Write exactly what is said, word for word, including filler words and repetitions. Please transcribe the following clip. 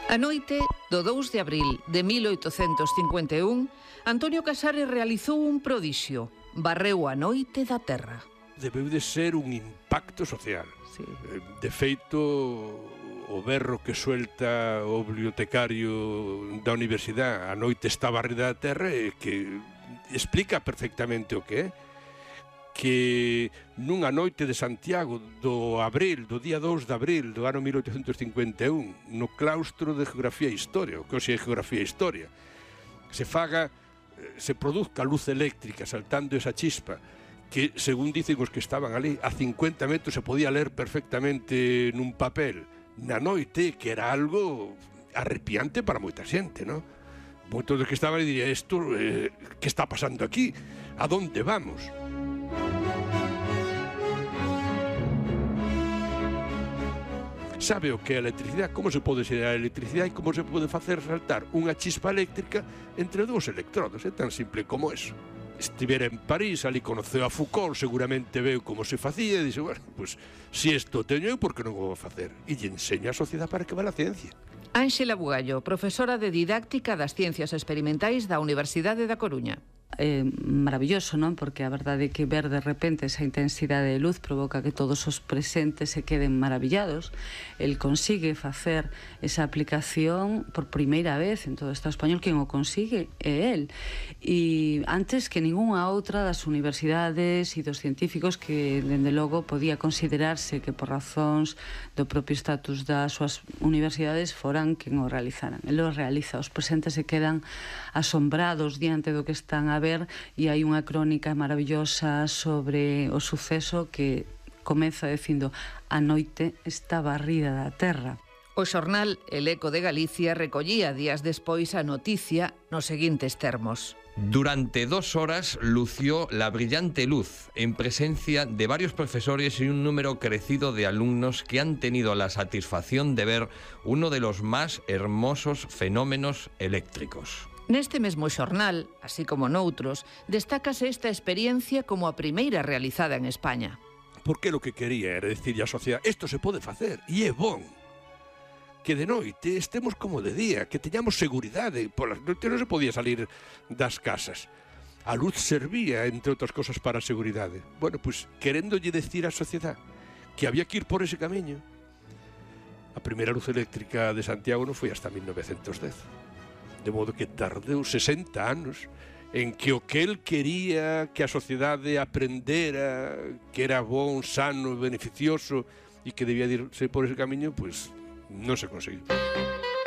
A noite do dous de abril de mil oitocentos cincuenta e un, Antonio Casares realizou un prodixio, barreu a noite da terra. Debeu de ser un impacto social. Sí. De feito, o berro que suelta o bibliotecario da universidade a noite está barrida da terra e que explica perfectamente o que é. Que nunha noite de Santiago do abril, do día dous de abril do ano mil oitocentos cincuenta e un, no claustro de Geografía e Historia, o que hoxe é Geografía e Historia, se faga, se produzca luz eléctrica saltando esa chispa, que, según dicen os que estaban ali, a cincuenta metros se podía ler perfectamente nun papel, na noite, que era algo arrepiante para moita xente, non? Moitos dos que estaban ali dirían, isto, eh, que está pasando aquí? A donde vamos? Sabe o que é a electricidade, como se pode xerar a electricidade e como se pode facer saltar unha chispa eléctrica entre dous electrodos, é tan simple como eso. Estivera en París, ali conoceu a Foucault, seguramente veu como se facía e dixe, bueno, pues, si isto teño eu, por que non o vou facer? E lle enseña a sociedade para que va a ciencia. Ánxela Bugallo, profesora de Didáctica das Ciencias Experimentais da Universidade da Coruña. É maravilloso, non? Porque a verdade é que ver de repente esa intensidade de luz provoca que todos os presentes se queden maravillados. El consigue facer esa aplicación por primeira vez en todo o Estado español. Quen o consigue é el. E antes que ningunha outra das universidades e dos científicos que, dende logo, podía considerarse que por razóns do propio estatus das súas universidades foran quen o realizaran. El o realiza. Os presentes se quedan asombrados diante do que están a ver e hai unha crónica maravillosa sobre o suceso que comeza dicindo a noite está barrida da terra. O xornal El Eco de Galicia recollía días despois a noticia nos seguintes termos. Durante dos horas lució la brillante luz en presencia de varios profesores y un número crecido de alumnos que han tenido la satisfacción de ver uno de los más hermosos fenómenos eléctricos. Neste mesmo xornal, así como noutros, destácase esta experiencia como a primeira realizada en España. Porque lo que quería era decirle á sociedade, isto se pode facer, e é bon. Que de noite estemos como de día, que teñamos seguridade, polas noites non se podía salir das casas. A luz servía, entre outras cosas, para a seguridade. Bueno, pois, queréndolle decir á sociedade que había que ir por ese camiño, a primeira luz eléctrica de Santiago non foi hasta mil novecentos dez. De modo que tardeu sesenta anos en que o que el quería que a sociedade aprendera que era bon, sano, beneficioso e que debía irse por ese camiño, pois non se conseguiu.